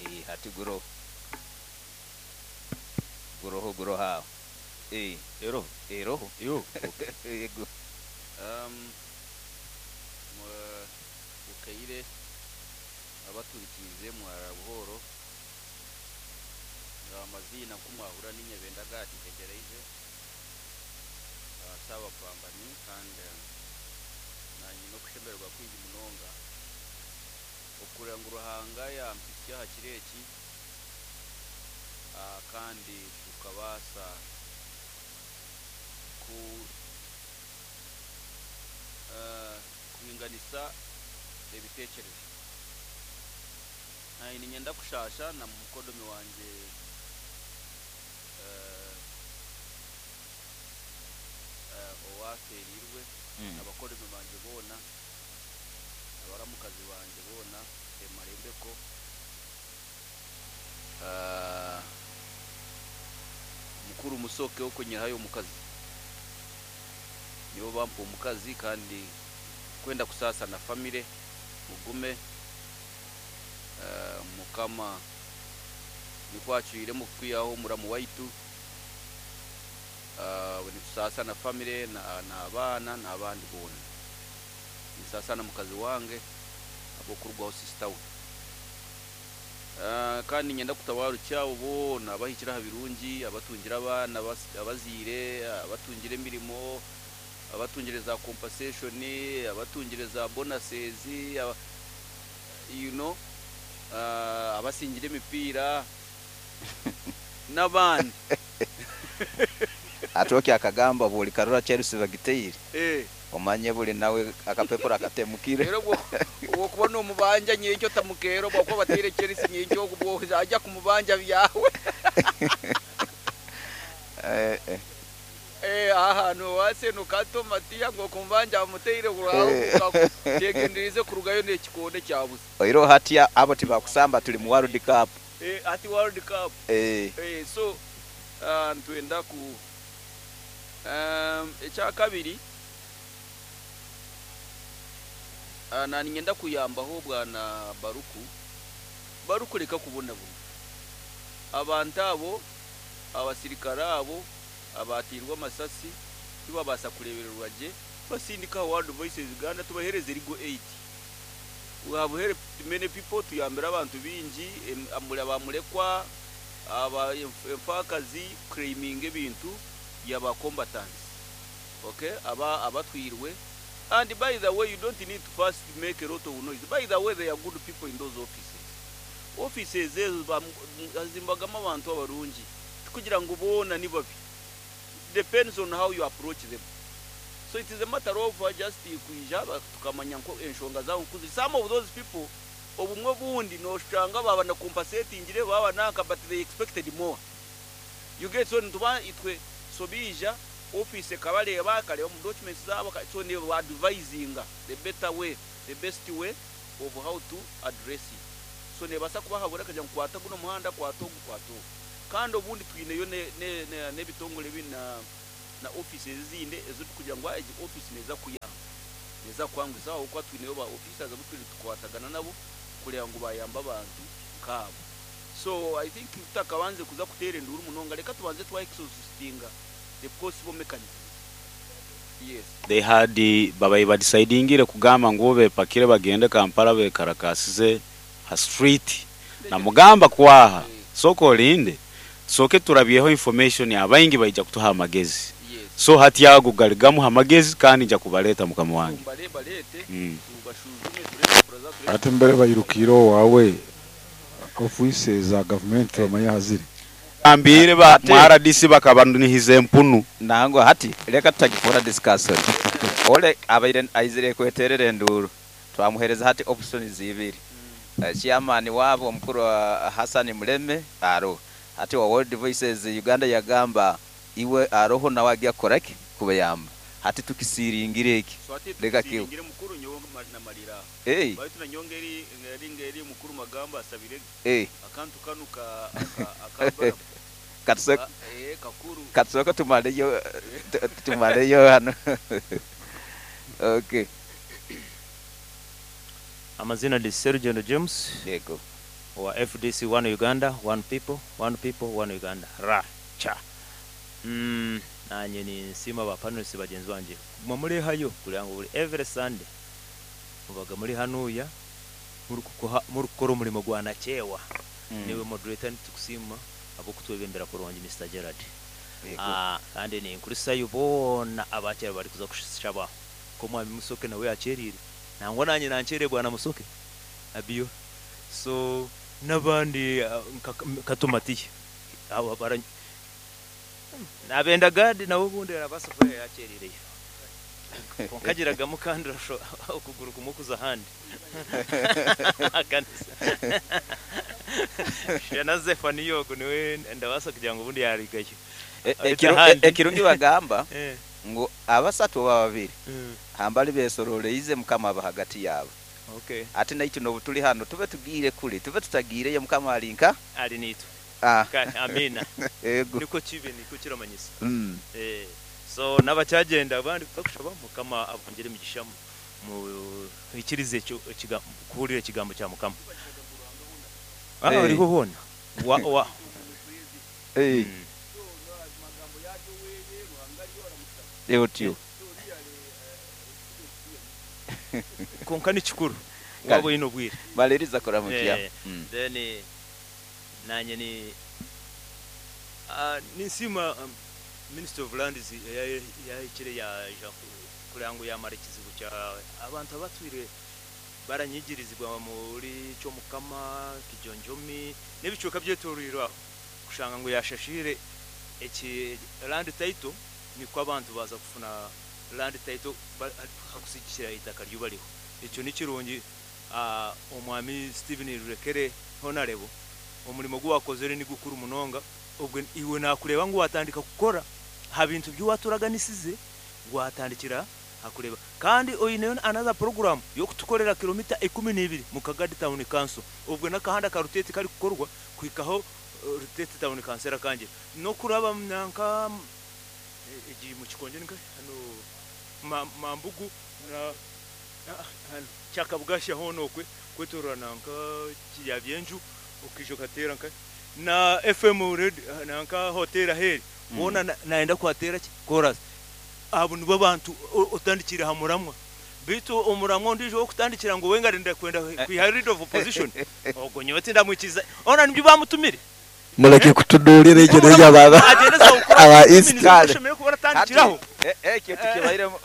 Eh, hati guroho. Guroho guroho aho. Eh, Eroho? Eroho. Yo. Yego. Bukaire abaturikiize mwarara buhooro. Amaziina nku mwahurira ni Nyebenda Gad Ntegyereize Ssaabapambani kandi naanye nyine okushemererwa kwingi munonga okureeba ngu Ruhanga yampitsya aha kiro eki kandi tukabaasa ku kuhinganisa ebiteekyerezo. Naanye niinyenda kushaasha na mukodomi wangye owaafeereirwe, na bakodomi bangye boona, na baramukazi bangye boona, Emma Rembeko, mukuru Musoke okunyihayo omukazi. Nibo bampa omukazi kandi kwenda kusaasa na famire, mugume Mukama nikwo acwiremu kukwihaho omuramu waitu. Nitusaasa na famire n'abaana n'abandi boona. Ninsaasa na mukazi wange ahabw'okurugwaho sisita we. Kandi niinyenda kutabaarukya abo boona abahikire aha birungi, abatungire abaana abazaire, abatungire emirimo, abatungire za compensation, abatungire za bonuses, you know, abasingire emipiira n'abandi. Atwoki akagamba obu orikarora Chelsea bagiteire omanye buri nawe akapepura katemukire. Reero obwo okuba nomubanja nyenkya otamukeera obwo ahakuba bateire Chelsea nyenkya obwo oja kumubanja byawe. Aha nowatseno kato Matiya ngu okumubanja bamuteire kyegendereize kurugayo nekikonde kyabusa. Oihireho hati abo tibakusamba turi mu world cup. Hati world cup. So nitwenda ku ekyakabiri naninyenda kuyambaho bwana Baruku. Baruku reka kubonabona. Abantu abo abasirikare abo abateirwe amasasi tibabaasa kureebererwa gye, basindike aha World Voices Uganda tubaheereze legal aid. We have helped many people, tuyambire abantu baingi, bamurekwa, enfaakazi kuclaiminga ebintu bya ba combatants okay, abatwirwe and by the way you don't need to first make a lot of noise, by the way there are good people in those offices. Offices ezo hazimbagamu abantu abarungi, tikugira ngu boona ni babi, depends on how you approach them. So it is a matter of just kwija tukamanya nku enshonga zaabo nku ziri. Some of those people obumwe obundi noshanga baaba na compensatingire baaba nanka but they expected more. You get so nituba itwe so baija office ekabareeba ekareeba omu documents zaabo so neba advisinga the better way, the best way of how to address it. So nebaasa kubahabura ekagira ngu kwata gunu omuhanda, kwata ogu, kwata ogu. Kandi obundi twineyo n'ebitongore ebindi na na offices ezindi ezi turikugira ngu egi office neeza kukuyamba, neeza kukwanguhiza ahabw'okuba twineyo ba officers abu turiyo nitukwatagana nabo kureeba ngu bayamba abantu nk'abo. So I think tutakabanze kuza kuteera enduuru munonga reka tubanze twa exhaustinga the possible mechanisms. Yes. They had babaire badecidingire kugamba ngu bepakire bagende Kampala bekarakasize ha street namugamba kwaha sooka olinde tusooke turabyeho information abaingi baija kutuha amagezi so hati ago gari gamu ha magezi kandi nja kubareta mukama wange. Hati mbere bairukiire owaawe ofiisi za gavumenti tibamanya aha ziri. Gambiire ba mu rdc bakabanihiza empunu. Nangwa hati reka tutagifoora discussion. Ole abaire aizire kweterera enduuru twamuhereza hati options ibiri. Chairman waabo omukuru Hassan Muleme aroho. Hati owa World Voices Uganda yagamba iwe aroho nawe agya kukora ki? Kubayamba. Hati tukisiringire eki. So hati Reka kibe. tukisiringire mukuru nyowe namarira aha. Hey. Baitu nanyowe ngeri ngeri ngeri mukuru Magamba asabire Hey. akantu kanu ka aka aka Balamu. Katusooke Ka eh kakuru. katusooke tumaleyo tumaleyo hanu. Okay. Amazina ndi Serugendo James. Yego. Owa FDC One Uganda, One People, One People, One Uganda. Ra cha. Nanye ninsiima ba panelists bagyenzi bangye kuguma murehayo kureba ngu buri every Sunday mubaga muri hanuya murikukora omurimo gwa nakyewa. Niiwe moderator nitukusiima ahabw'okutwebembera kurungi Mister Gerald. Kandi ninkurisayo boona abakyari barikuza kushaba nk'omwami Musoke nawe yakyeriire nangwa nanye nankyereire bwana Musoke Abio so n'abandi nka Kato Matiya abo bara nabenda Gad nawe obundi arabaasa kuba yakyeriireyo kwonka agiragamu kandi okuguru kumwe kuza ahandi ahakanisa Shana Zephania ogwo niwe ndabaasa kugira ngu obundi yarugayo beitu ahandi Ekirungi bagamba ngu abasatu oba babiri hambali besororeize Mukama aba hagati yaabo. Okay. Hati naitwe n'obu turi hanu tube tugiire kuri, tube tutagiireyo Mukama ari nka? Ari naitwe. Ah. Kare, amiina. Ego. Nikwo kibe, nikwo kiramanyisa. Mm. Eh, so n'abakyagenda abandi kuza kushaba, Mukama abongyere emigisha muhikirize ekyo ekiga kuhurira ekigambo kya Mukama. Ah, Eh. oriho hoona. Wa, wa. Eh. Mm. Otyo. Kwonka ni kikuru Kare. waaba oine obwire. Maliriza kuramukya. Eh, then nanye ni ah, ninsiima Ministry of Lands eyahikire yaija kureba ngu yamara ekizibu kya abantu abatwire baranyigirizibwa omuri Kyomukama, Kijonjomi n'ebicweka byetoroirwe aho kushanga ngu yashashiire eki land title nikwo abantu baaza kufuna land title hakusigikira eitaka ryubariho. Ekyo nikirungi Omwami Stephen Rurekere Honarebo omurimo ogu wakozire nigukuru munonga obwe iwe nakureeba ngu watandika kukora aha bintu bi waturaganisize watandikira aha kureeba kandi oineyo another program yokutukorera kilomita 12 mu Kagadi Town Council obwe nakahanda ka Ruteete karikukorwa kuhikaho Ruteete Town Council erakangira nokuraba nanka egi mukikonjo ninkahi hanu Mambugu na Kyakabugasha hoona okwe kwetorora nanka Kiryabyenju okaija okateera nka na FM radio nanka hotel aheeri hoona nayenda kuhateera ki koorasi. Abo nibo abantu otandikiire aha muramwa. Beitu omuramwa ondiijo ow'okutandikira ngu we ngu arikwenda kwihaho leader of opposition ogwo nyowe tindamwikiriza. Hoona nibyo baamutumire. Mureke kutuduurira egyo n'egyo aba Agyende aza aba East. kukora oshemereire kuba oratandikiraho. Ekyo tikibairemu.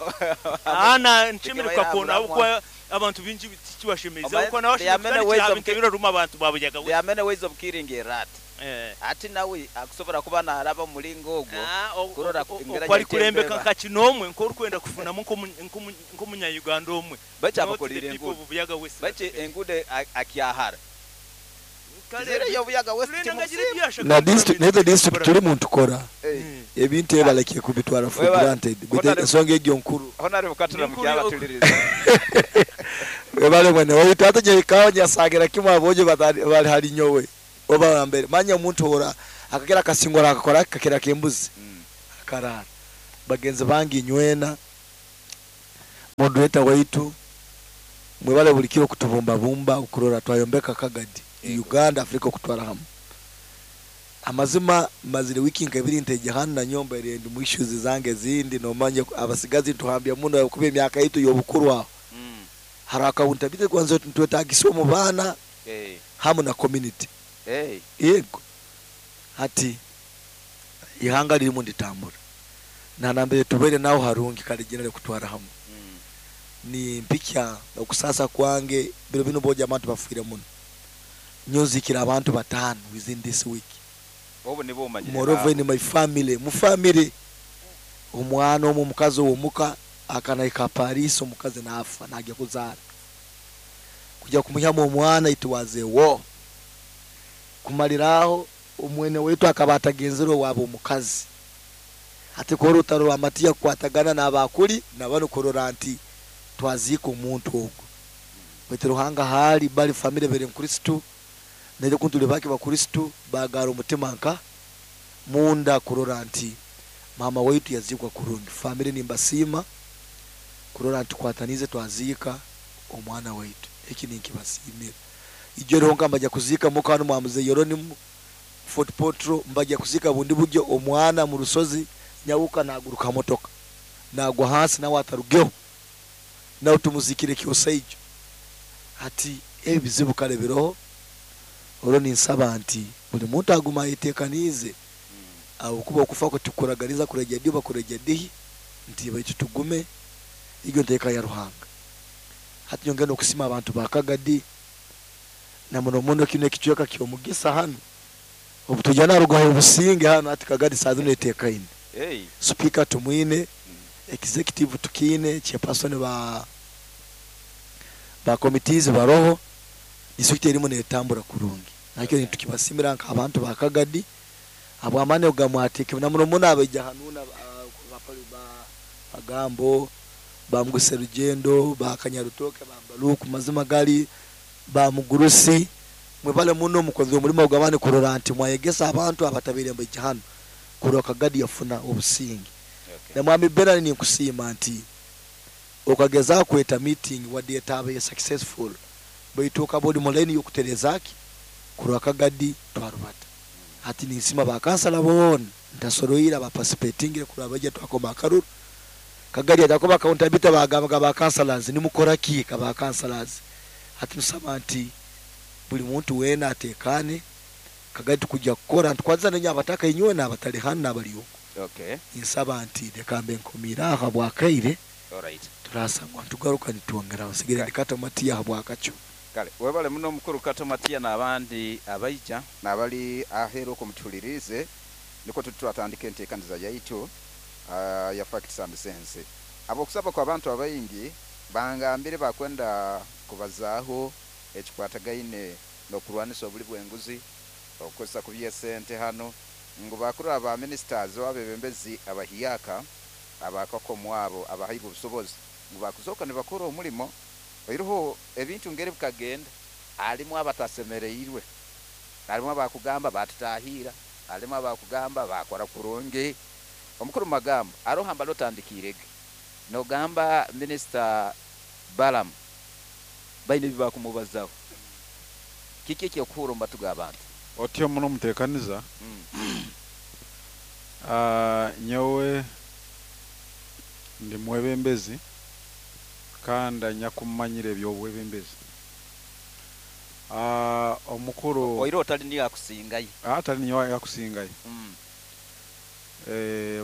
Aah nshemereire Tikibaire aha kukakoona muramwa. ahabw'okuba abantu baingi tikibashemeize Omanye ahabw'okuba nawe there are ashemereire many kutandikira ways aha of bintu ki ebiraruma abantu ba Buyaga there are West. many ways of killing a rat. Hati nawe akusobora kuba naaraba omu muringo ogwo kurora engeri Oku arikurembeka agyetembeba. nka kinoomwe nk'orikwenda kufunamu nk'omunya-Uganda omwe Baitu not the abakorire people enguudo. of Buyaga West. Baitu enguudo akyahara. Kare Tizireyo Buyaga West Tulenda ngu agire timukusiima. ebi yashaka Na kukora district beitu n'ezo district kukora. turi muntu Eh. ebintu ebi balekire kubitwara for Webale. granted beitu Honarebo ensonga egyo nkuru. Honarebo Katuramu Ni nkuru kyabatuliriza. Webale mwene waitu hata nyekawa nyasagira kimwe abojo bali hali nyowe oba wambere manya omuntu ora akagera akasingora akakora kakera kembuzi akarara bagenzi bangi nywena moderator waitu mwebale buli kiro kutubumba bumba okurora twayombeka Kagadi Yego. Uganda Afrika okutwara hamwe amazima mazire wiki nka ebiri nteje hanu na nyomba eri ndi mu issues zange zindi nomanya abasigazi tuhambya muno kuba emyaka yitu y'obukuru aho hari accountability kwanza ntwetagisa omu baana hamu na community yego hati ihanga ririmu nditambura nanambere tubere naho harungi kale jenere kutwara hamwe ni mpikya okusasa kwange biro bino boja abantu bafwire muno nyozikira abantu batano within this week Obu nibo omanyire moreover baabo. in my family mu family omwana omwe omukazi owomuka akanahika Paris omukazi nafa nagya kuzaara kujya kumuhyamu omwana it was a war kumaliraho omwene wetu akaba atagenzere owabo omukazi ati kora orutaro rwa Matiya kukwatagana n'abakuri nabano kurora nti twaziika omuntu ogwo baitu Ruhanga hali bali family bere nkristu naije kuntuli bake bakristu bagara omutima nka munda kurora nti mama waitu yazikwa kurungi family nimbasiima kurora nti kwatanize twaziika omwana waitu eki ninkibasiimira Ijo rihonka mbajya kuziika muka hanu mwa Mzee Yeronimu Fort Portal, mbajya kuziika bundi buryo omwana mu rusozi nyabuka naguruka motoka nagwa hansi nawe atarugeho, nawe tumuzikire Kyosaijo. Hati ebi bizibu kare biroho, orwo ninsaba nti buli muntu aguma ayetekaniize, ahabw'okuba okufa kwe tikuraganiza kuregya di oba kuregya dihi, nti baitu tugume egyo nteeka ya Ruhanga. Hati nyongere n'okusiima abantu ba Kagadi na muno muno kinu ekicweka ky'omugisa hanu, obu twija narugaho obusinge hanu hati Kagadi saaha zinu eteekaine. Sipiika tumwine, executive tukiine, chairperson ba ba committees baroho, district erimu netambura kurungi. Nakyo nitukibasimira nk'abantu ba Kagadi habw'amaani agu gamwateekemu na muno muno abaija hanu na ba Magambo, ba Mugisa Rugyendo, ba Kanyarutoke, ba Baluku, mazima gali ba Mugurusi, mwebale muno mukozire omurimo gw'amaani kurora nti mwayegesa abantu abatabaire nibaija hanu kurora Kagadi yafuna obusinge. Na Mwami Bernard ninkusiima nti okagezaho kweta meeting wadde etabaire successful baitu okaba ori mu line y'okutereza ki kurora Kagadi twarubata. Hati ninsiima ba kansala boona ntasoroire aba participatingire kurora baija twakoma akaruru. Kagadi atakuba accountability bagambaga ba councillors nimukora ki ka ba councillors. Hati nusaba nti buli muntu weena atekane Kagadi tukujja kukora nitukwatisa nenye abataka inywena abatali hanu nabali okwo. Ninsaba nti leka mbe nkomiire aho habwakaire turasangwa nitugaruka nitwongeraho. Nsigaire ndi Kato Matia habwakakyo. Kale webale muno mukuru Kato Matia nabandi abaija. Nabali aheeru okwo mutuhuliriize, nikwo tuti twatandika enteekaniza yaitu ya Facts and Sense. Habw'okusaba kw'abantu abaingi, bangambire bakwenda kubazaaho ekikwatagaine n'okurwanisa obuli bw'enguzi, okukozesa kubi esente hanu, ngu bakurora ba ministers oba abebembezi abahyaka abakakomwa abo abahairwe obusobozi ngu bakuzooka nibakora omulimo oiroho ebintu ngeri bikagenda halimu abatasemereirwe, halimu abakugamba batutahiira, halimu abakugamba bakora kurungi. Omukuru Magambo aroho hambali otandikiirege nogamba Minisita Balaam baine ebi bakumubazaho. Kiki eky'okuhuura omu matu g'abantu? Otyo muno mutekaniza. Nyowe ndi mwebembezi kandi anyakumanyire eby'obwebembezi. Omukuru. Oira otali niyo akusingayo. Atali niyo akusingayo.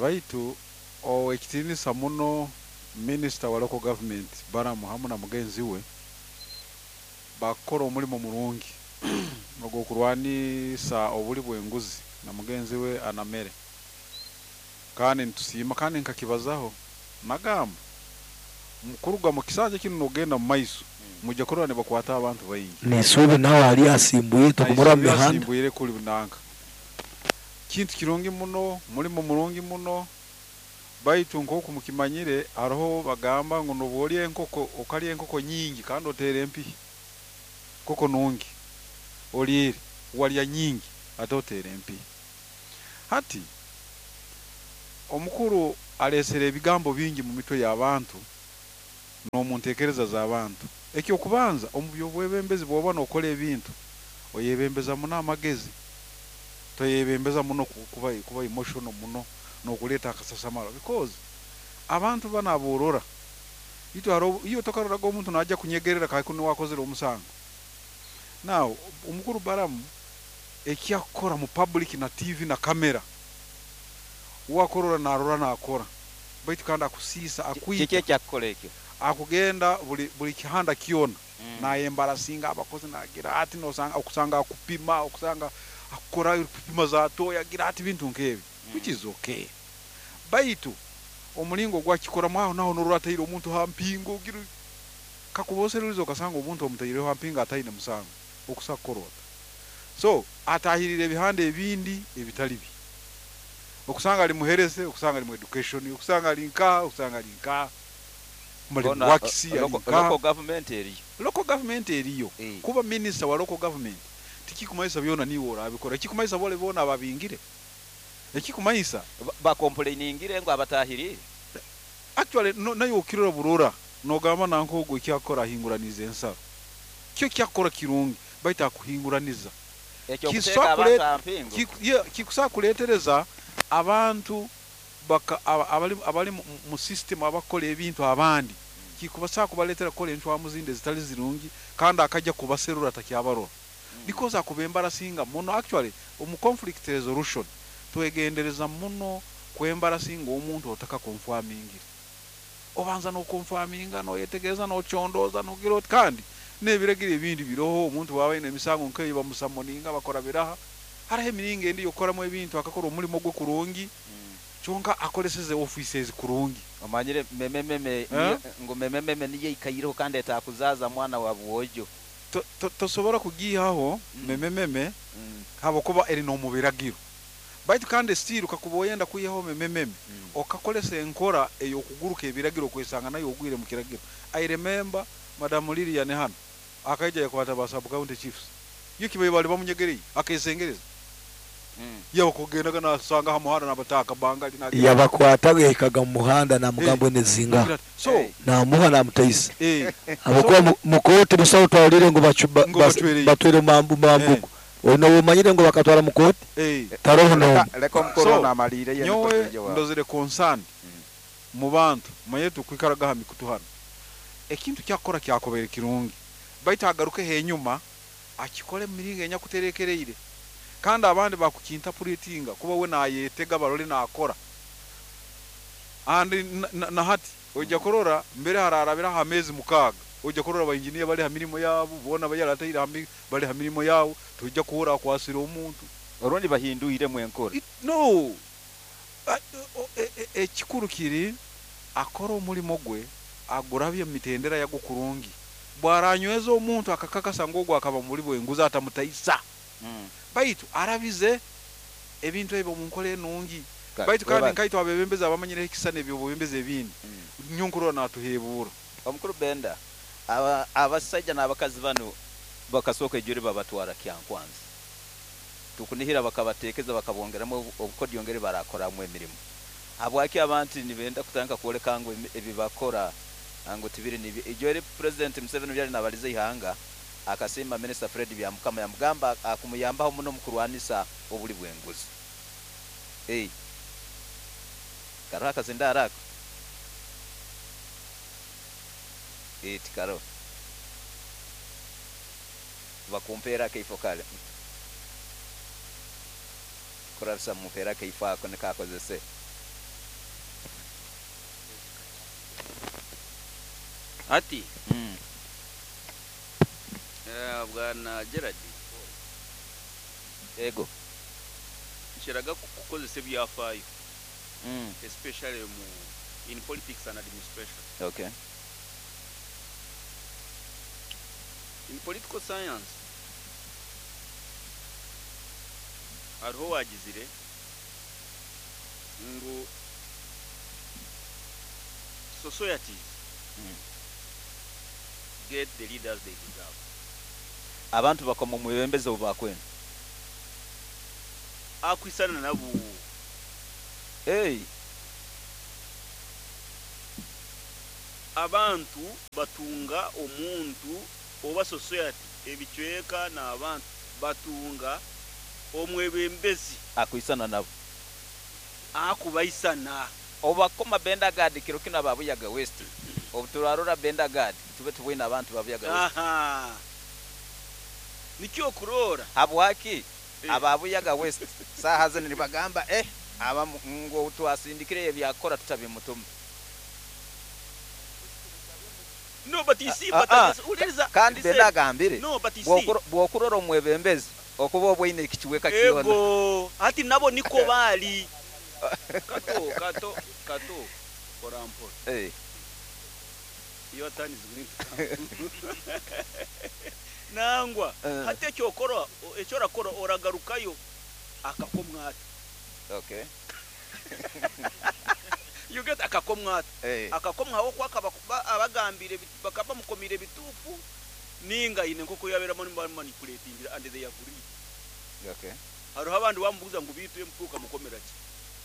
Baitu ow'ekitiinisa muno Minisita wa Local Government Balaam hamu na mugenzi we bakukora omulimo murungi ogw'okurwanisa obuli bw'enguzi na mugenzi we Anamere. Kandi nitusiima kandi nkakibazaho nagamba kuruga mu kisanja kinu n'ogenda mu maiso mwija kurora nibakwata abantu baingi. Nisuubi nawe ali asimbwire tukumurora mu mihanda. Asimbwire kuli nanka. Kintu kirungi muno, mulimo murungi muno, baitu nk'oku mukimanyire haroho bagamba ngu nobu olya enkoko okalya enkoko nyingi kandi oteera empihi. Nkoko nungi oliire walya nyingi ate oteera empihi. Hati omukuru aleesere ebigambo bingi mu mitwe y'abantu n'omu nteekereza z'abantu. Eky'okubanza omu by'obwebembezi bw'oba n'okora ebintu oyebembeza muno amagezi, toyebembeza muno kuba emotional muno n'okuleeta akasasamaro because abantu banu aborora itwe haroho iwe tokaroraga omuntu naija kunyegerera kandi niwe akozere omusango. Now omukuru Balaam eki akukora mu public na TV na camera uwe akurora narora nakora baitu kandi akusiisa akwita. Kiki eki akukora ekyo? Akugenda buli kihanda kyona nayembarasinga abakozi nagira ati nosanga okusanga akupima okusanga akukora kupima za toyi agira ati bintu nkebi which is okay baitu omulingo ogwakikoramu aho naho norora ataire omuntu ha mpingo ogira kakuba oserurize okasanga omuntu omutaireho ha mpingo ataine musango okusa kukora ota so atahirire ebihanda ebindi ebitali bi okusanga ali muherese okusanga ali mu education okusanga ali nkaha okusanga ali nkaha mali Hoona works ali nkaha. Local government eriyo. Local government eriyo. Kuba minister wa local government tikikumanyisa byona niiwe orabikora ekikumanyisa bole boona ababingire ekikumanyisa. Bakomplainingire ngu abatahirire. Actually naiwe okirora burora nogamba nanka ogu eki akukora ahinguraniize ensaro. Kyo eki akukora kirungi Baitu akuhinguraniza. Ekyokuteeka Kisobola abantu aha mpingu. Kikusobola kuleetereza abantu baka, aba, abali, abali mu, mu system abakukora ebintu abandi, kikubasobola kubaleetera kukora encwamu zindi ezitali zirungi, kandi akajja kubaserura takyabarora because akuba embarasinga muno. Actually, omu conflict resolution twegendereza muno kwembarasinga omuntu otakakonfamingire. Obanza nokonfaminga, noyetegereza, nocondooza, nogira oti, kandi n'ebiragiro ebindi biroho. Omuntu bwaba aine emisango nk'eyo bamusamoninga, bakora biraha. Hariho emiringo endi y'okukoramu ebintu, akakora omurimo gwe kurungi, kyonka akoreseze ofiisi ezi kurungi. Omanyire memememe Eh? niyo, ngu memememe niyo eikaireho kandi etakuzaaza mwana wa bwojo. Tosobora kugiihaho memememe habwokuba eri n'omu biragiro. Baitu kandi still kakuba oyenda kwihaho memememe, okakoresa enkora ey'okuguruka ebiragiro okwesanga nayo ogwire mu kiragiro. I remember Madam Lilian hanu akaija yakwata ba sub county chiefs. Yo kibaire bali bamunyegereire akesengereza. Yabakugendaga nasanga ha muhanda nabataka bangali nagira. Yabakwataga yahikaga mu muhanda namugamba enezinga. Nagira ati, so Namuha namutaisa. Habwokuba so mu kooti busaho twahulire ngu Ngu bacwereye. batwire mambugu. Ono omanyire ngu bakatwara mu kooti? Taroho n'omu. Leka omukuru So, ono amaliire ye nyowe niko twije wawe. ndozire concern mu bantu, manye tukwikaraga ha mikutu hano. Ekintu kyakukora kyakubaire kirungi, baitu agarukeho enyuma akikore mu miringo enyakuterekereire. Kandi abandi bakukintapuretinga kuba we nayetega barole nakora. And na hati ojja kurora mbere hararabira ha mezi 6, ojja kurora ba engineer bali ha mirimo yabo, bona bayarataire ha bali ha mirimo yabo, tojja kuhura akwasira omuntu. Orundi bahinduire mu enkora. No. Ekikuru kiri akora omurimo gwe agurabye mu mitendera yago kurungi. Bwaranyweza omuntu akakakasa ngu ogwo akaba muri bwenguzi atamutaisa. Baitu arabize ebintu ebyo mu nkora enungi. Baitu kandi nkaitwe abebembezi abamanyire ekisana eby'obwebembezi ebindi. Nyonkurora natuhebuura. Omukuru Benda, abasajja n'abakazi bano bakasooka ejuri babatwara Kyankwanzi. Tukunihira bakabateekeza bakabongeramu obukodyo ngeri barakoramu emirimo. Habwaki abantu nibenda kutandika kwoleka ngu ebi bakora ngu tibiri nibi. Ejuri President Museveni byali nabaliza ihanga akasiima Minister Fred Byamukama yamugamba akumuyambaho muno mu kurwanisa obuli bw'enguzi. Karo akazinda arako. Tikaro. Bakumpeera akaifo kale. Kurabisa mumpeera akaifo ako nikakozese. Ati. Bwana Gerard. Ego. Nshiraga kukozesa ebyafaayo. Especially in politics and administration. In political science, hariho wagizire ngu societies get the leaders they deserve. Abantu bakoma mu bibembeze obu bakwenda. Akwisana nabo. Hey. Abantu batunga omuntu oba society ebicweka n'abantu batunga omwebembezi akwisana nabo. Akubaisana. Obakoma Benda Gad kiro kino ababuyaga West. Obuturarora Benda Gad tube tubwine abantu babuyaga West. Aha. Nikyo kurora. Habwaki? Ababuyaga West saha zino nibagamba aba ngo twasindikire ebyakora tutabimutuma. No, but you see, but uliriza, Kandi listen. Benda agambire. No, but you see. Bwokurora omwebembezi okuba obweine ekikiweka kyona. Ego, ati nabo niko bali. Kato, kato, kato. Orampo. Iyo atani zimwe. Nangwa, hati ekyokora, ekyorakora oragarukayo akakomwata. You get akakomwata. Akakomwa aho kwaka abagambire bakaba mukomire bitufu ninga ine nkoko yaberamo nimba manipulating and they agree. Hariho abandi bamubuza ngo bitu emfuka mukomera ki?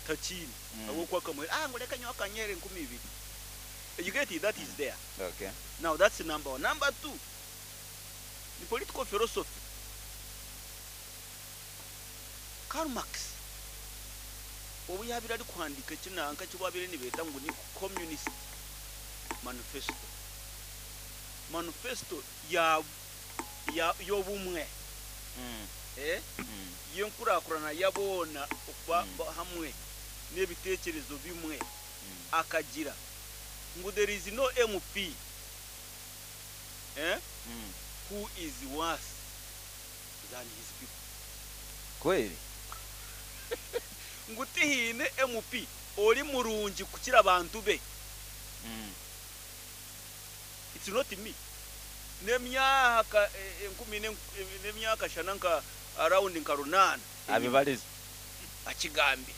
Takini. Abo kwaka mwe, ngo reka nyoka kanyere nkumi ibiri. You get it, that is there. Now that's number one. Number two, the political philosophy. Karl Marx obu yaabaire arikuhandiika eki nanka eki baabaire nibeeta ngu ni Communist Manifesto, manifesto ya ya y'obumwe, y'enkurakurana ya boona okuba hamwe n'ebiteekyerezo bimwe, akagira ngu there is no MP who is worse than his people. Kweli? Ngu tihaine MP ori murungi kukira abantu be. It's not me. N'emyaka enkumi n'emyaka shana nka around nka runaana enyima. Abibarize. Akigambire.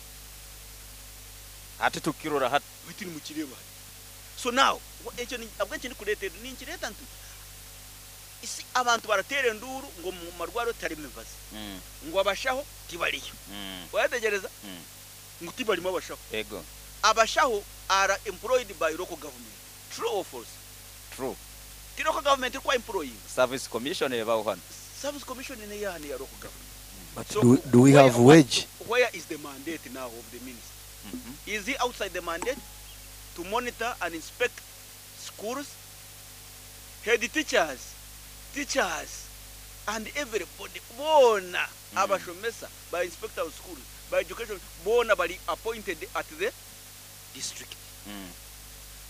Hati tukirora hati. Beitu nimukireeba hati. So now, ekyo ahabw'enki ndikureeta ebyo? Ninkireeta nti isi abantu barateera enduuru ngu omu marwariro tiharimu mibazi, ngu abashaho tibariyo. Oyetegyereza? Ngu tibarimu abashaho. Ego. Abashaho are employed by local government. True or false? True. Ti local government erikuba employinga? Service commission ebaho hanu. Service commission neyaha neya local government. But So do, do we where, have wage? where is the mandate now of the minister? Is he outside the mandate to monitor and inspect schools, head teachers, teachers, and everybody? Boona abashomesa, ba inspector of schools, ba education, boona bari appointed at the district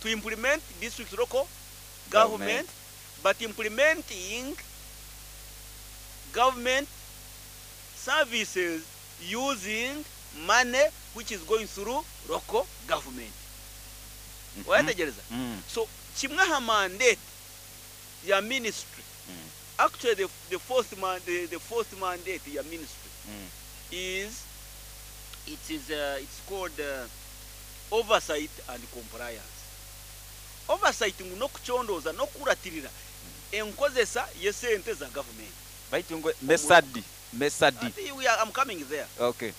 to implement district local government, but implementing government services using money which is going through local government. Wayetegereza? So kimwe aha mandate ya ministry, actually the fourth man, the fourth mandate ya ministry is it is it's called oversight and compliance. Oversight ngu n'okucondooza n'okukuratirira enkozesa y'esente za government. Baitu ngu mesadi mesadi. Ati we are, I'm coming there. Okay.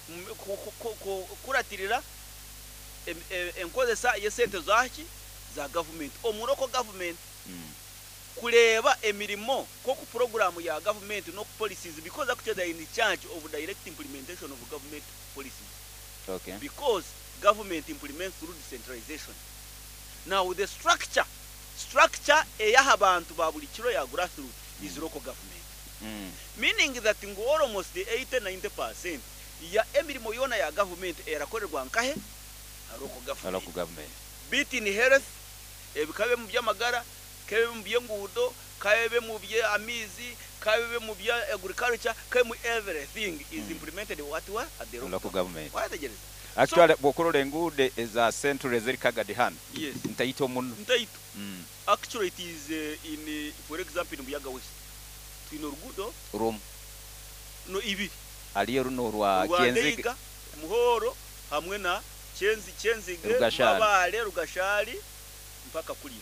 Kukuratirira enkozesa y'esente zaki za government omu local government, kureeba emirimo nk'oku puroguraamu ya government n'oku policies, because actually they are in charge of direct implementation of government policies, because government implements through decentralization. Now the structure eyaha abantu ba buri kiro ya grassroots is local government, meaning that ngu almost 80-90% ya emirimo yoona ya government erakorerwa nkahe? Ha local government. Local government. Be it in health, ebikabe mu by'amagara, kabe mu by'enguudo, kabe mu by'amaizi, kabe mu bya agriculture, kabe mu everything is implemented what wa at the local Local government. Wayetegereza? Actually bw'okurora enguudo eza central eziri Kagadi hanu, Yes. ntaito muno. Ntaito. Actually it is in for example in Buyaga West twine oruguudo Rumu. No, ibiri. Hariyo runo orwa Rwa Kyenzige. Ndeiga, Muhoro hamwe na Kyenzi, Kyenzige, Rugashari. Mabale, Rugashari mpaka kuriya.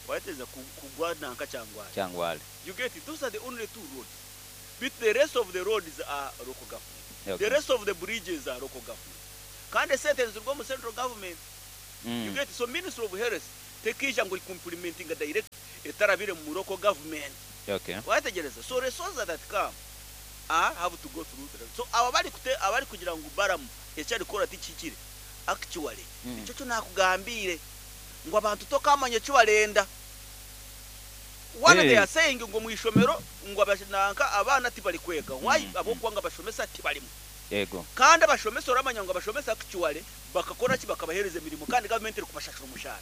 Wayetegereza? Kugwa nanka Kyangwali. Kyangwali. You get it? Those are the only two roads, but the rest of the roads are local government. The rest of the bridges are local government, kandi esente nizirwa omu central government. You get it? So Ministry of Health tekija ngu implementing direct etarabire mu local government. Wayetegereza? So resources that come are have to go through the, so aba bari kute abari kugira ngu Balaam ekyarikora tikikire, actually ekyo kyo nakugambire ngu abantu tokamanya eki barenda. One, they are saying ngu mu ishomero ngu nanka abaana tibari kwega. Why? Ab'okuba abashomesa tibarimu. Kandi abashomesa oramanya ngu abashomesa actually bakakora ki? Bakabahereza emirimo kandi government eri kubashashura omushahara.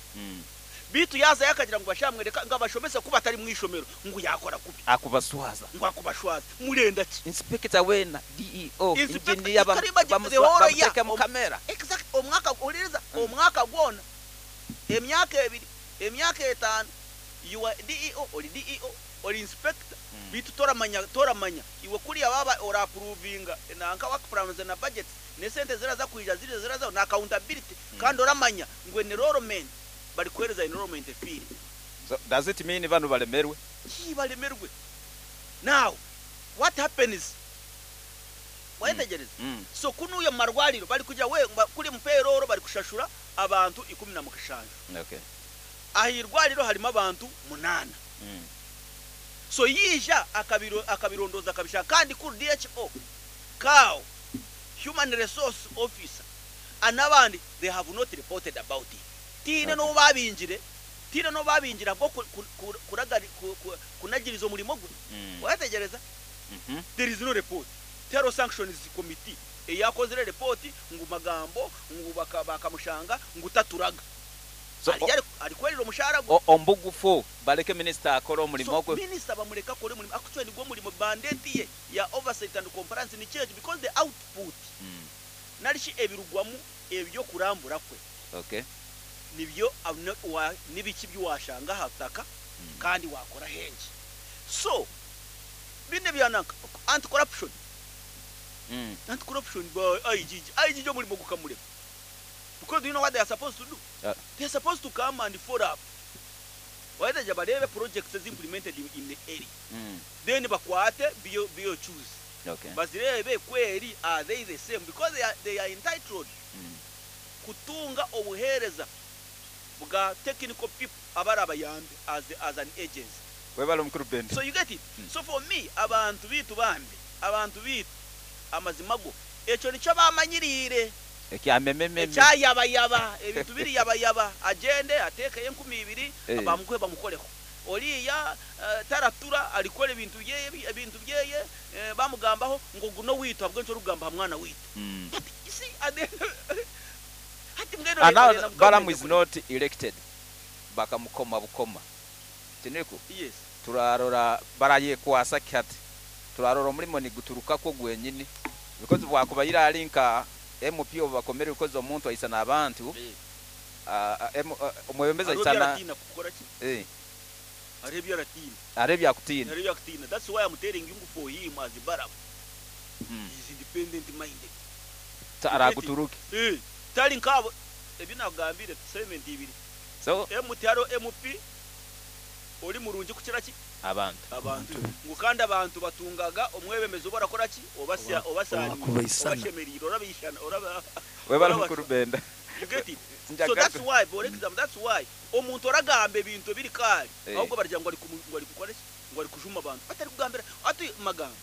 Bitu yaza yakagira ngu bashamwereka ngo abashomesa kuba batari mu ishomero ngu yakora kubi. Akubaswaza. Ngo akubashwaza. Murenda ki? Inspector wena, DEO, Inspector, engineer you can imagine the whole year. bamuteke mu kamera. Exact, omwaka, oliriza, omwaka gwona, emyaka 2, emyaka 5, you are DEO, ori DEO, ori inspector, bitu toramanya, toramanya iwe kuriya baba ora approvinga nanka work plans na budget ne sente ziraza kwija ziri ziraza na accountability, kandi oramanya ngu enrollment bari kuhereza enrollment fee. So does it mean bano balemerwe? Ki balemerwe? Now what happens, wayetegereza? So kunuya mu marwariro bari kujya we kuri mu payroll bari kushashura abantu 17. Aha irwariro harimo abantu munana. So yija akabirondoza akabishaka, kandi kuri DHO kawo Human resource officer and n'abandi they have not reported about it. Tihaine n'ou baabingire, tihaine n'ou baabingire ahabw'okunagiriza omurimo gwe. Waayetegyereza? There is no report. Tihariho sanctions committee eyakozire report ngu magambo ngu bakamushanga ngu taturaga. So, Ari arikwerira omushaara gwe. Omu bugufu bareke minisita akore omurimo So gwe. minisita bamureke akore omurimo actually nigwo murimo mandate ye ya oversight and compliance nikyo ekyo because the output nari shi ebirugwamu eby'okurambura kwe nibyo nibiki ebi washanga aha butaka kandi wakora hengi. So binu ebya nanka anti corruption, anti corruption ba IGG, IGG omurimo gukamurema because do you know what they are supposed to do? They are supposed to come and follow up waheza bareebe projects ezi implemented in the area then bakwate BOQs bazireebe kweri are they the same because they are entitled kutunga obuheereza bwa technical people abarabayambe as an agency. Webale Mukuru Benda. So you get it? So for me abantu baitu bambi, abantu baitu amazima go ekyo nikyo bamanyiriire. Ekya memememe. Ekya yabayaba, ebintu biri yabayaba, agyende ateekeyo enkumi ibiri bamuguhe bamukoreho. Oriiya taratura arikukora ebintu byeye ebintu byeye bamugambaho ngu ogu n'owaitu ahabw'enki orikugamba aha mwana waitu? But you see at the end hati mbwenu And now orenda ngu Balaam gavumenti is not elected bakamukoma bukoma tiniku? Yes. Turarora barayekwasa ki hati? Turarora omurimo niguturukakwo gwenyini because bwakubaire ari nka MP obubakomere because omuntu aisana abantu omwebembezi Hariho ebi aisana aratiina kukora ki? Hariho ebi aratiina. Hariho ebi akutiina. Hariho ebi akutiina. That's why I'm telling you ngu for him as Balaam, he is independent minded. So araguturuke. Tari nkaabo ebi nakugambire segment ibiri. So Emu tihariho MP ori murungi kukira ki? Abantu. Abantu. Ngu kandi abantu batungaga omwebembezi ou barakora ki? Obasya obasaaniire, Owakubaisana. obashemereire, orabaishana, oraba Webale orabacwa. Mukuru Benda. You get it? So that's why, for example, that's why omuntu oragamba ebintu ebiri kaari, ahubwo baragira ngu ngu arikukora ki? Ngu arikujuma abantu. Atarikugambira ati magambo.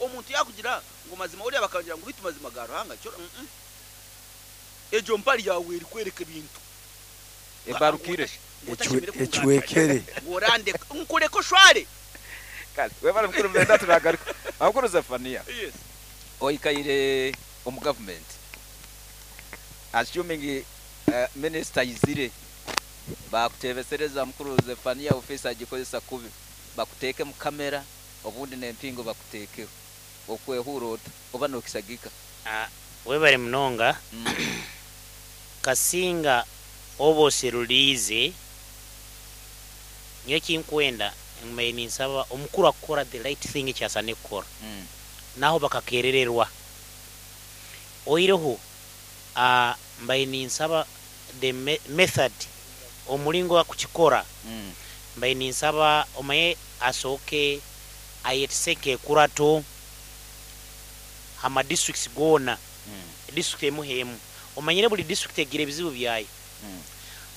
Omuntu yakugira ngu mazima oriya bakagira ngu bitu mazima ga Ruhanga kyo. Egyo mpare yaawe erikworeka ebintu. Ebarukire. Ecwekere. Ngu orandeka nkureke oshware. Kale, webale Mukuru Benda turagaruka. Mukuru Zephania. Yes. Oikaire omu government. Assuming minister aizire bakutebesereza Mukuru Zephania office agikozesa kubi bakuteeke mu kamera obundi n'empingo bakuteekeho okwehura ota oba nokisagika? Webale munonga. Kasinga oba oseruliize, nyowe ekinkwenda mbaire ninsaba omukuru akukora the right thing eki asaine kukora naho bakakerererwa. Oihireho mbaire ninsaba the method omuringo akukikora mbaire ninsaba omanye asooke ayetise nk'ekurato aha districts goona, district emu h'emu. Omanyire buri district egira ebizibu byayo.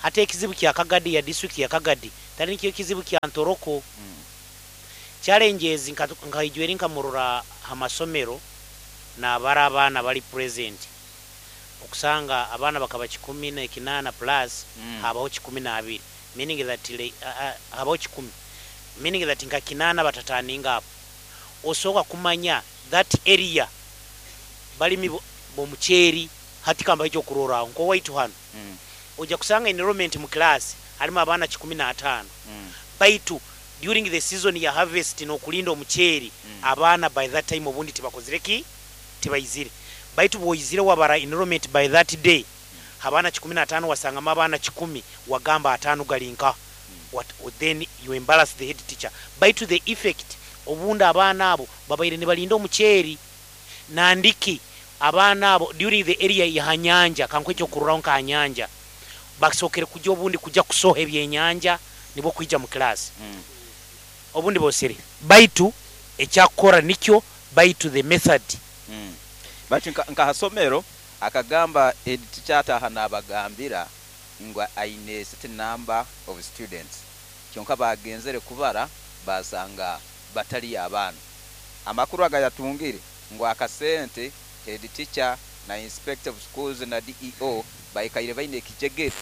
Hati ekizibu kya Kagadi ya district ya Kagadi tari nikyo ekizibu kya Ntoroko. Challenges nkaijweri nkamurora aha masomero nabara abaana bari present okusanga abaana bakaba 18 plus habaho 12 meaning that habaho 10 meaning that nka 8 batataninga apo. Osooka kumanya that area balimi b'omuceeri. Hati kambaho ekyokurorraho nk'owaitu hanu ojja kusanga enrollment mu class harimu abaana 15 baitu during the season ya harvest n'okulinda omuceeri abaana by that time obundi tibakozire ki, tibaizire. Baitu bw'oizire wabara enrollment by that day abaana 15 wasangamu abaana 10 wagamba ataano gari nka what, then you embarrass the head teacher. Baitu the effect obundi abaana abo babaire nibalinda omuceeri nandiki abaana abo during the area ya nyanja kankuhe ekyokurorraho nka nyanja basookere kujya obundi kujya kusoha ebyenyanja nibwo kwija mu class obundi bosere. Baitu ekyakukora nikyo baitu the method. Baitu nka hasomero akagamba head teacher ataha nabagambira ngu aine certain number of students kyonka bagenzere kubara basanga batali abaana. Amakuru agayatungire ngu akasente Head teacher na inspector of schools na DEO baikaire baine ekijegere.